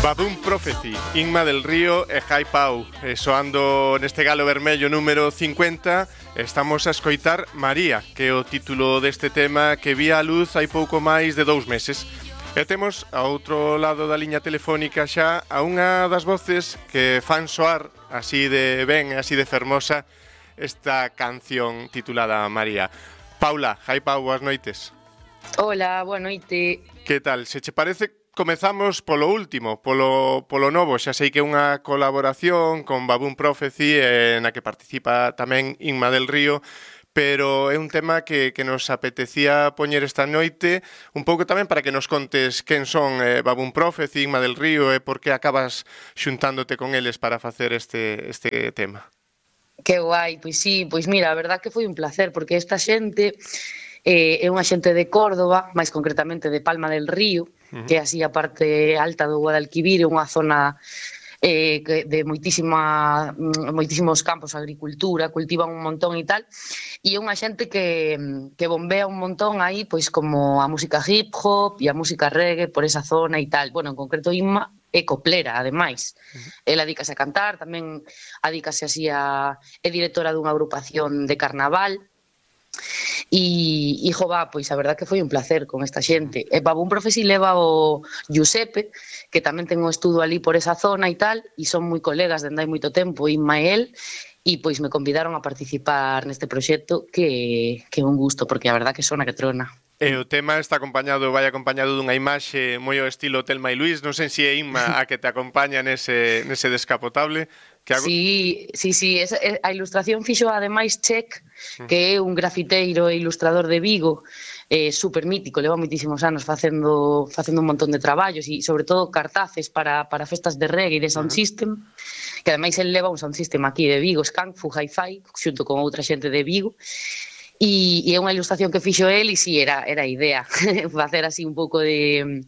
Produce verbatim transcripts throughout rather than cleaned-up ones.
Baboon Prophecy, Inma del Río e Jai Pau, e soando neste galo vermello número cincuenta. Estamos a escoitar María, que é o título deste tema que vía a luz hai pouco máis de dous meses. E temos ao outro lado da liña telefónica xa a unha das voces que fan soar así de ben, así de fermosa esta canción titulada María. Paula, Jai Pau, boas noites. Hola, boa noite. Que tal? Se che parece, comezamos polo último, polo, polo novo. Xa sei que é unha colaboración con Baboon Prophecy, eh, na que participa tamén Inma del Río, pero é un tema que, que nos apetecía poñer esta noite, un pouco tamén para que nos contes quen son eh, Baboon Prophecy, Inma del Río, e por que acabas xuntándote con eles para facer este, este tema. Que guai, pois sí, pois mira, a verdad que foi un placer, porque esta xente eh, é unha xente de Córdoba, máis concretamente de Palma del Río, uh-huh. que é así a parte alta do Guadalquivir, unha zona eh, de moitísima, moitísimos campos de agricultura, cultivan un montón e tal, e é unha xente que, que bombea un montón aí, pois como a música hip hop e a música reggae por esa zona e tal. Bueno, en concreto Inma é coplera, ademais. Uh-huh. Ela adícase a cantar, tamén adícase así a... é directora dunha agrupación de carnaval. E, e jova, pois a verdad que foi un placer con esta xente. E Baboon Prophecy leva o Giuseppe, que tamén ten un estudo ali por esa zona e tal, e son moi colegas dende hai moito tempo, Inma e el, e pois me convidaron a participar neste proxecto, que, que é un gusto, porque a verdad que sona que trona. E o tema está acompañado, vai acompañado dunha imaxe moi ao estilo Telma e Luís. Non sei se é Inma a que te acompaña nese, nese descapotable. Que hago... Sí, sí, sí, esa, a ilustración fixo ademais Check, que é un grafiteiro e ilustrador de Vigo, eh, super mítico, leva moitísimos anos facendo facendo un montón de traballos e sobre todo cartaces para, para festas de reggae e de sound system, que ademais el leva un sound system aquí de Vigo, Skunk Fu Hi-Fi, xunto con outra xente de Vigo. E, e é unha ilustración que fixo el e si, sí, era, era a idea facer así un pouco de,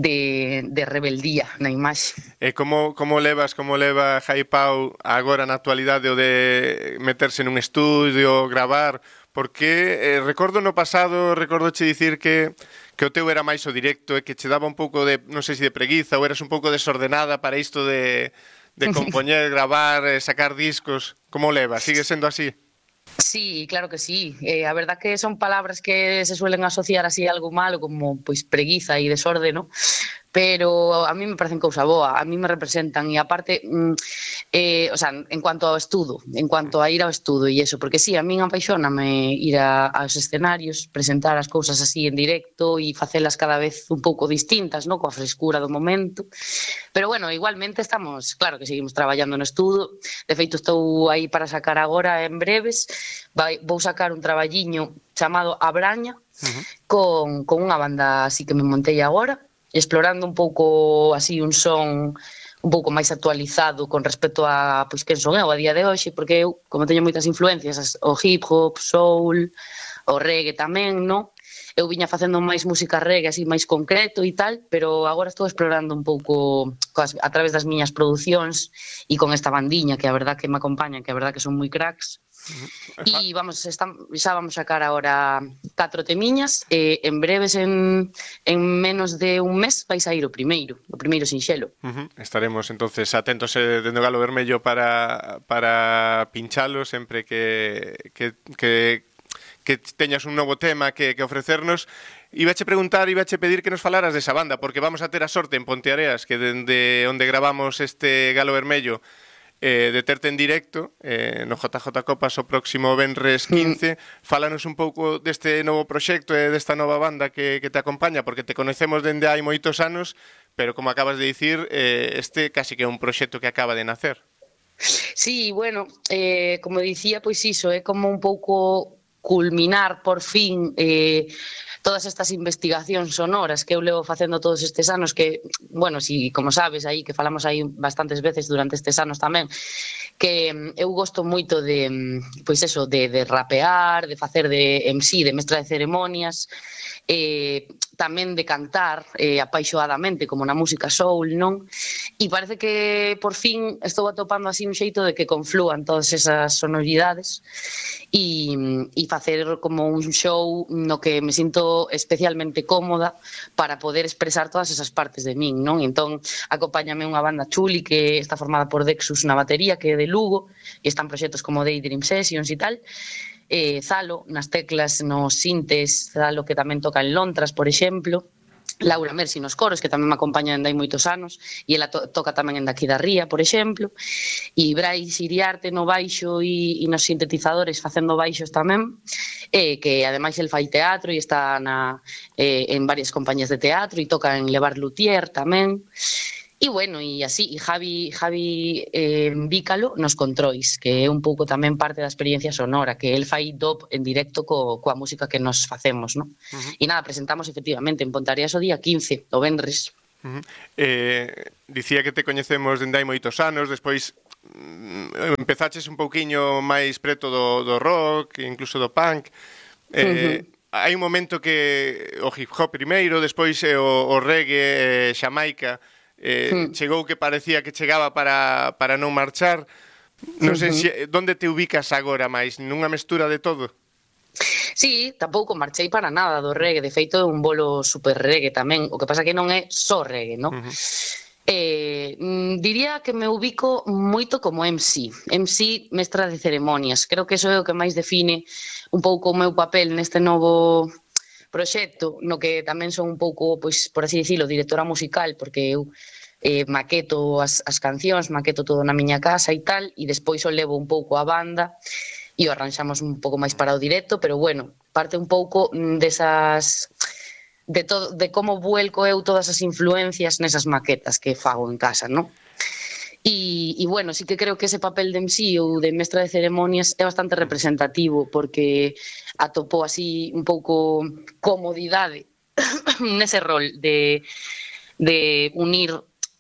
de, de rebeldía na imaxe. E como, como levas, como leva Jai Pau agora na actualidade o de meterse nun estudio, gravar? Porque eh, recordo no pasado, recordo che dicir que, que o teu era máis o directo e que che daba un pouco de, non sei se de preguiza ou eras un pouco desordenada para isto de, de compoñer, gravar, sacar discos. Como levas? Sigue sendo así? Sí, claro que sí. Eh, a verdad que son palabras que se suelen asociar así a algo malo, como pois preguiza e desorde, ¿no? Pero a mí me parecen cousa boa, a mí me representan e aparte, mm, eh, o sea, en cuanto ao estudo, en cuanto a ir ao estudo e eso, porque sí, a min apaixóname ir a, aos escenarios, presentar as cousas así en directo e facelas cada vez un pouco distintas, ¿no? Coa frescura do momento. Pero bueno, igualmente estamos, claro que seguimos traballando no estudo. De feito, estou aí para sacar agora en breves, vai, vou sacar un traballiño chamado A Braña, uh-huh. con, con unha banda así que me montei agora, explorando un pouco así un son un pouco máis actualizado con respecto a pois quen son eu a día de hoxe, porque eu, como teño moitas influencias, o hip hop, soul, o reggae tamén, no? Eu viña facendo máis música reggae así máis concreto e tal, pero agora estou explorando un pouco coas, a través das miñas producións e con esta bandiña que a verdad que me acompañan, que a verdad que son moi cracks. E vamos, estamos, xa vamos a sacar agora catro temiñas e en breves, en, en menos de un mes vai sair o primeiro, o primeiro sinxelo. Uh-huh. Estaremos entonces atentos eh, dentro do Galo Vermello para, para pinchalo sempre que, que, que, que teñas un novo tema que, que ofrecernos. Ibache preguntar, ibache pedir que nos falaras desa banda, porque vamos a ter a sorte en Ponteareas, que dende onde gravamos este Galo Vermello, Eh, de terte en directo eh, no J J Copas o próximo venres quince. Mm. Fálanos un pouco deste novo proxecto e desta nova banda que, que te acompaña, porque te conocemos dende hai moitos anos, pero como acabas de dicir, eh, este casi que é un proxecto que acaba de nacer. Sí, bueno, eh, como dicía, pois iso, é como un pouco culminar por fin eh, todas estas investigacións sonoras que eu levo facendo todos estes anos, que, bueno, si, como sabes, aí que falamos aí bastantes veces durante estes anos tamén, que eu gosto moito de, pois eso, de, de rapear, de facer de M C, de mestra de ceremonias, eh, tamén de cantar eh, apaixoadamente, como na música soul, non? E parece que por fin estou atopando así un xeito de que conflúan todas esas sonoridades e, e facer como un show no que me sinto especialmente cómoda para poder expresar todas esas partes de min, non? Entón, acompáñame unha banda chuli que está formada por Dexus na batería, que é de Lugo, e están proxectos como Daydream Sessions e tal, eh, Zalo nas teclas, nos sintes, Zalo que tamén toca en Lontras, por exemplo, Laura Mersi nos coros, que tamén me acompaña dende hai moitos anos, e ela to toca tamén en Daqui da Ría, por exemplo, e Brais Iriarte no baixo e, e nos sintetizadores facendo baixos tamén, eh, que ademais el fai teatro e está na, eh, en varias compañías de teatro e toca en Levar Luthier tamén. E bueno, e así, e Javi, Javi eh, Vícalo nos controis, que é un pouco tamén parte da experiencia sonora, que el fai dub en directo co, coa música que nos facemos, non? Uh-huh. E nada, presentamos efectivamente en Pontareas o día quince, o vendres. Uh-huh. eh, dicía que te coñecemos dende hai moitos anos, despois mm, empezaches un pouquiño máis preto do, do rock, incluso do punk. Eh, uh-huh. Hai un momento que o hip hop primeiro, despois eh, o, o reggae, eh, Xamaica, Eh, hmm. chegou que parecía que chegaba para, para non marchar. Non sei uh-huh. se, donde te ubicas agora máis? Nunha mestura de todo? Sí, tampouco marchei para nada do reggae. De feito, é un bolo super reggae tamén. O que pasa que non é só reggae, non? Uh-huh. Eh, diría que me ubico moito como M C. M C, mestra de ceremonias. Creo que iso é o que máis define un pouco o meu papel neste novo proxecto, no que tamén son un pouco, pois, por así dicilo, directora musical, porque eu eh, maqueto as, as cancións, maqueto todo na miña casa e tal, e despois o levo un pouco a banda e o arranxamos un pouco máis para o directo, pero bueno, parte un pouco desas de todo, de como vuelco eu todas as influencias nesas maquetas que fago en casa, non? E, e bueno, sí que creo que ese papel de M C ou de mestra de ceremonias é bastante representativo, porque atopou así un pouco comodidade nese rol de, de unir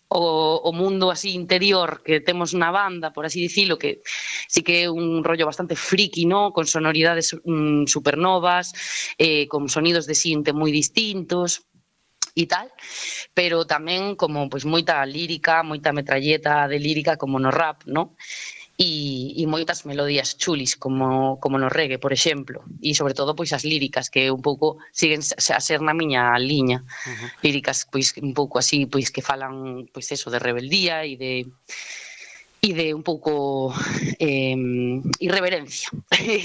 o, o mundo así interior que temos na banda, por así dicilo, que sí que é un rollo bastante friki, ¿no? Con sonoridades mm, supernovas, eh, con sonidos de sinte moi distintos e tal, pero tamén como pois moita lírica, moita metralleta de lírica como no rap, ¿no? E, e moitas melodías chulis como, como no reggae, por exemplo, e sobre todo pois as líricas que un pouco siguen a ser na miña liña. Uh-huh. Líricas pois un pouco así, pois que falan pois eso de rebeldía e de e de un pouco eh, irreverencia.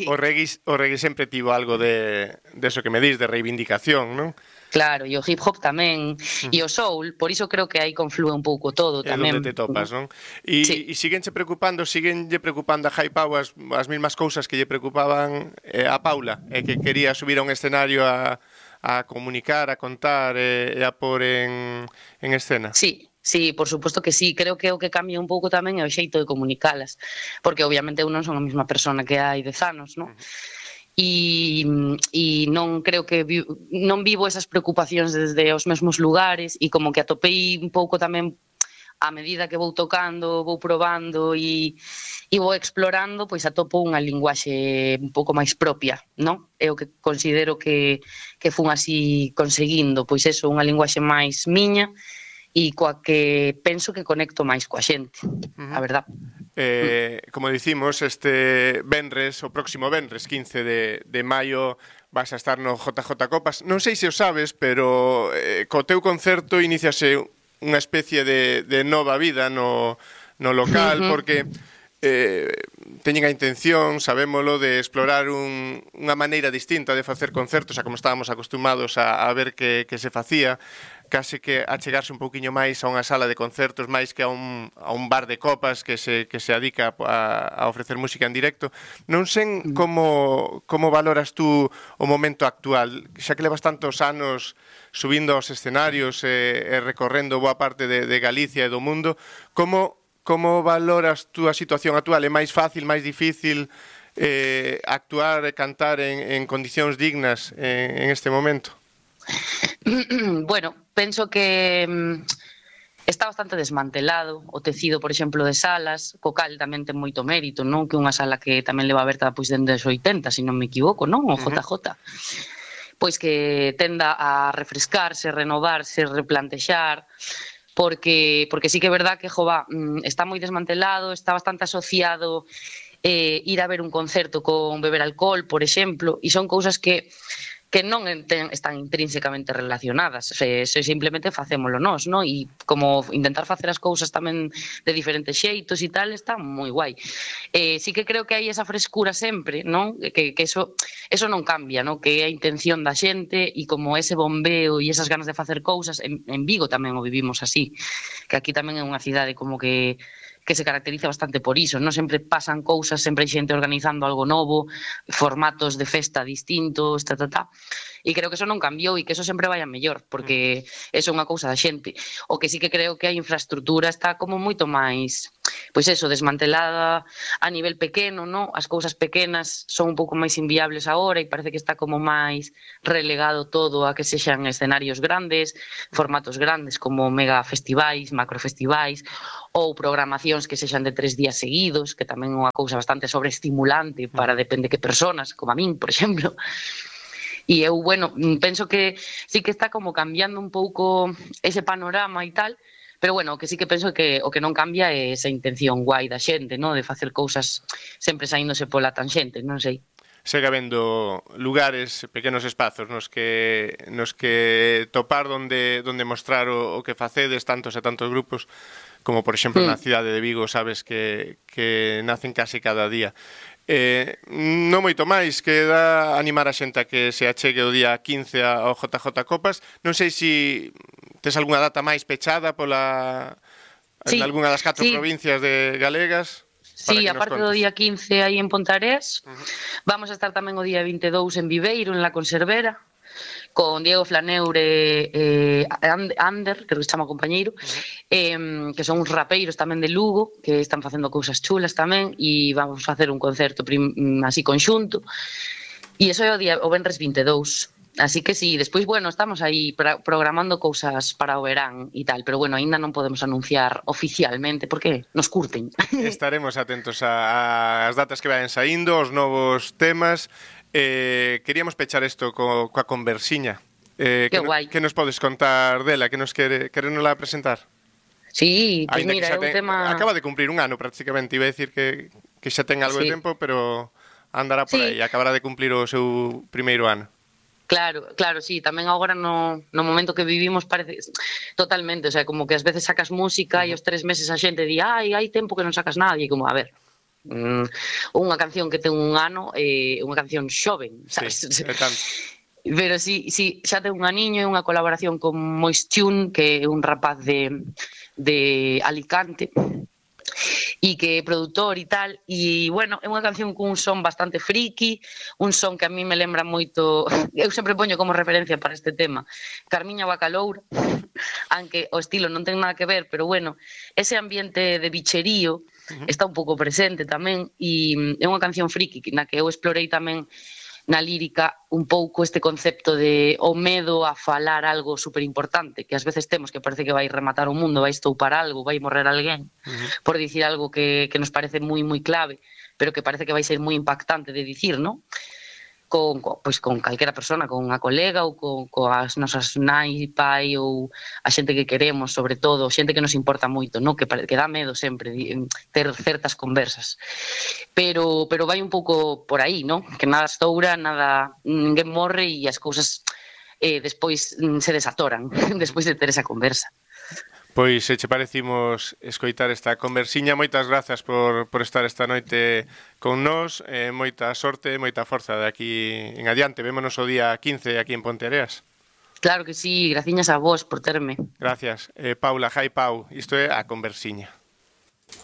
O reggae, o reggae sempre tivo algo de, de eso que me dis, de reivindicación, non? Claro, e o hip hop tamén, uh-huh. e o soul, por iso creo que aí conflúe un pouco todo tamén. É onde te topas, non? E, sí. e síguenche preocupando, síguenlle preocupando a Jai Pau as, as mesmas cousas que lle preocupaban eh, a Paula, e que quería subir a un escenario a, a comunicar, a contar e, e a pôr en, en escena. Sí. Sí, por suposto que sí, creo que o que cambia un pouco tamén é o xeito de comunicalas, porque obviamente eu non son a mesma persona que hai dez anos, non? E, e non creo que vi, non vivo esas preocupacións desde os mesmos lugares e como que atopei un pouco tamén a medida que vou tocando, vou probando e, e vou explorando, pois atopo unha linguaxe un pouco máis propia, non? É o que considero que, que fun así conseguindo, pois eso, unha linguaxe máis miña e coa que penso que conecto máis coa xente, uh-huh. a verdad. Eh, como dicimos, este venres, o próximo venres, quince de, de maio, vas a estar no J J Copas. Non sei se o sabes, pero eh, co teu concerto iniciase unha especie de, de nova vida no, no local, uh-huh. porque eh, teñen a intención, sabémolo, de explorar un, unha maneira distinta de facer concertos a como estábamos acostumados a, a ver que, que se facía, case que achegarse un pouquiño máis a unha sala de concertos máis que a un, a un bar de copas que se, que se adica a, a ofrecer música en directo. Non sei como, como valoras tú o momento actual, xa que levas tantos anos subindo aos escenarios e, e recorrendo boa parte de, de Galicia e do mundo, como, como valoras tú a situación actual? É máis fácil, máis difícil eh, actuar e cantar en, en condicións dignas en, en este momento? Bueno, penso que mm, está bastante desmantelado o tecido, por exemplo, de salas, co cal tamén ten moito mérito, non? Que unha sala que tamén leva aberta pois dende os oitenta, se non me equivoco, non? O J J. Pois que tenda a refrescarse, renovarse, replantexar, porque, porque sí que é verdad que, jova, está moi desmantelado, está bastante asociado eh, ir a ver un concerto con beber alcohol, por exemplo, e son cousas que que non enten, están intrínsecamente relacionadas, se, se simplemente facémolo nós, no? E como intentar facer as cousas tamén de diferentes xeitos e tal, está moi guai. Eh, sí que creo que hai esa frescura sempre, non? Que, que eso, eso non cambia, no? Que é a intención da xente e como ese bombeo e esas ganas de facer cousas, en, en Vigo tamén o vivimos así, que aquí tamén é unha cidade como que que se caracteriza bastante por iso, non sempre pasan cousas, sempre hai xente organizando algo novo, formatos de festa distintos, ta, ta, ta. E creo que eso non cambiou e que eso sempre vai a mellor, porque eso é unha cousa da xente. O que sí que creo que a infraestructura está como moito máis, pois eso, desmantelada a nivel pequeno, no? As cousas pequenas son un pouco máis inviables agora e parece que está como máis relegado todo a que sexan escenarios grandes, formatos grandes como mega festivais, macrofestivais, ou programacións que sexan de tres días seguidos, que tamén é unha cousa bastante sobreestimulante para depende que personas, como a min, por exemplo. E eu, bueno, penso que sí que está como cambiando un pouco ese panorama e tal, pero bueno, o que sí que penso que o que non cambia é esa intención guai da xente, no? De facer cousas sempre saíndose pola tanxente, non sei. Segue habendo lugares, pequenos espazos nos que nos que topar onde onde mostrar o, o que facedes, tantos e tantos grupos, como por exemplo mm. na cidade de Vigo, sabes que, que nacen case cada día. Eh, non moito máis, queda animar a xente a que se achegue o día quince ao J J Copas. Non sei se tes algunha data máis pechada pola sí, en algunha das catro sí. provincias de galegas. Sí, aparte do día quince aí en Pontarés, uh -huh. vamos a estar tamén o día vinte e dous en Viveiro, en La Conservera, con Diego Flaneure e eh, Ander, que se chama compañeiro, uh -huh. eh, que son uns rapeiros tamén de Lugo, que están facendo cousas chulas tamén, e vamos a facer un concerto así conxunto, e iso é o, día, o venres vinte e dous. Así que sí, despois, bueno, estamos aí programando cousas para o verán e tal, pero bueno, aínda non podemos anunciar oficialmente porque nos curten. Estaremos atentos ás datas que vayan saindo, os novos temas. Eh, queríamos pechar isto co, coa conversiña. Eh, que que, guai. Que nos podes contar dela, que nos quere, querenosla presentar? Sí, pois pues mira, é un ten, tema... Acaba de cumprir un ano prácticamente, iba a decir que, que xa ten algo sí. de tempo, pero andará por sí. aí, acabará de cumplir o seu primeiro ano. Claro, claro, sí, tamén agora no, no momento que vivimos parece totalmente, o sea, como que ás veces sacas música uh -huh. e os tres meses a xente di, ai, hai tempo que non sacas nada, e como, a ver, mm, unha canción que ten un ano é eh, unha canción xoven, sabes? Sí, é tanto. Pero sí, sí, xa ten un aniño, é unha colaboración con Moist Tune, que é un rapaz de, de Alicante, e que é produtor e tal, e bueno, é unha canción cun son bastante friki, un son que a mí me lembra moito, eu sempre poño como referencia para este tema Carmiña Bacaloura, aunque o estilo non ten nada que ver, pero bueno, ese ambiente de bicherío está un pouco presente tamén, e é unha canción friki na que eu explorei tamén na lírica un pouco este concepto de o medo a falar algo superimportante, que ás veces temos que parece que vai rematar o mundo, vai estoupar algo, vai morrer alguén, uh-huh. por dicir algo que, que nos parece moi moi clave, pero que parece que vai ser moi impactante de dicir, ¿no? Con, con, pois con calquera persona, con a colega ou con, con as nosas nai, pai ou a xente que queremos, sobre todo, xente que nos importa moito, ¿no? Que, que dá medo sempre ter certas conversas. Pero, pero vai un pouco por aí, ¿no? Que nada estoura, nada, ninguén morre e as cousas eh, despois se desatoran despois de ter esa conversa. Pois, se che parecimos escoitar esta conversiña, moitas grazas por, por estar esta noite con nós, eh, moita sorte, moita forza de aquí en adiante. Vémonos o día quince aquí en Ponteareas. Claro que sí, graciñas a vos por terme. Gracias. Eh, Paula, Jai Pau, isto é a conversiña.